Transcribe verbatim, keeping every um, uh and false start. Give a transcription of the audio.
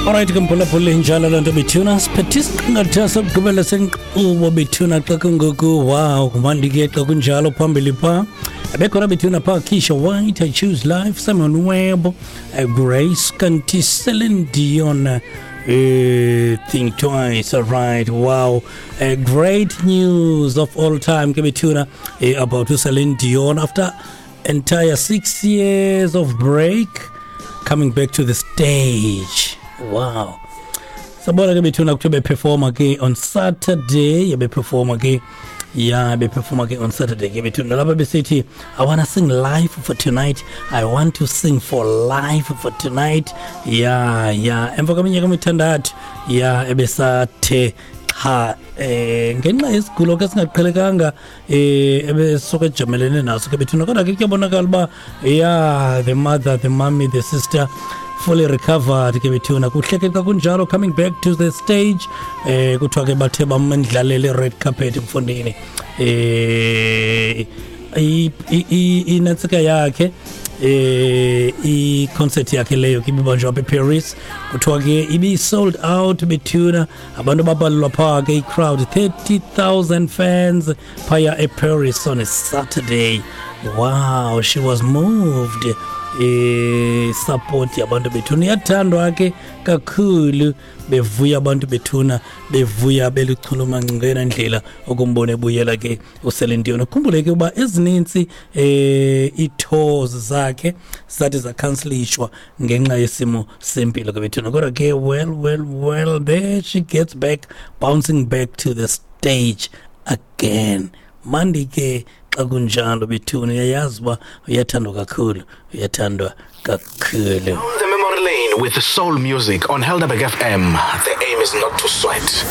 Alright ke mphulaphuli, injalo loo nto bethuna. Siphethe isiqingatha sokugqibela senkqubo bethuna xa kungoku. Wow, kumandi ke xa kunjalo. Phambili phaa bekhona bethuna phaa Keisha White, I Choose Life, Simon Webb, uh, Grace kanti Celine Dion, uh, Think Twice. All right, wow, uh, great news of all time ke bethuna uh, about Celine Dion after entire six years of break, coming back to the stage. Wow. Sabona ke bethuna kuthiwa beperforma ke on Saturday, beperforma ke, ya, beperforma ke on Saturday ke bethuna lapha besithi, "I want to sing live for tonight. I want to sing for life for tonight." Ya, ya, emva kweminyaka emithandathu ya ebesathe cha eh ngenxa yesigulo ke singaqhelekanga eh ebesuke ejamelene naso ke bethuna. Kodwa ke kuyabonakala uba, ya, the mother, the mommy, the sister fully recovered ke bethuna. Kuhle ke xa kunjalo, coming back to the stage. eh kuthiwa ke bathe bamendlalele red carpet mfondini. eh inantsika yakhe, eh i-concert yakhe leyo ke ibibanjwa apha eParis, kuthiwa ke ibi-sold out bethuna. Abantu babalelwa phaa ke, i-crowd thirty thousand fans phaya eParis on a Saturday. Wow, she was moved eh support yabantu bethuna. Iyathandwa ke kakhulu, bevuya abantu bethuna, bevuya beluchulumanco ngeyona ndlela ukumbona ebuyela ke uCeline Dion. Ukhumbule ke uba ezinintsi eh ii-tours zakhe zathi zakhansilishwa ngenxa yesimo sempilo ke bethuna. Kodwa ke, well, well, well, there she gets back, bouncing back to the stage again. Mandi ke xa kunjalo bethuna. Uyayazi uba uyathandwa kakhulu, uyathandwa kakhulu. The Memory Lane with Soul Music on Helderberg F M. The aim is not to sweat.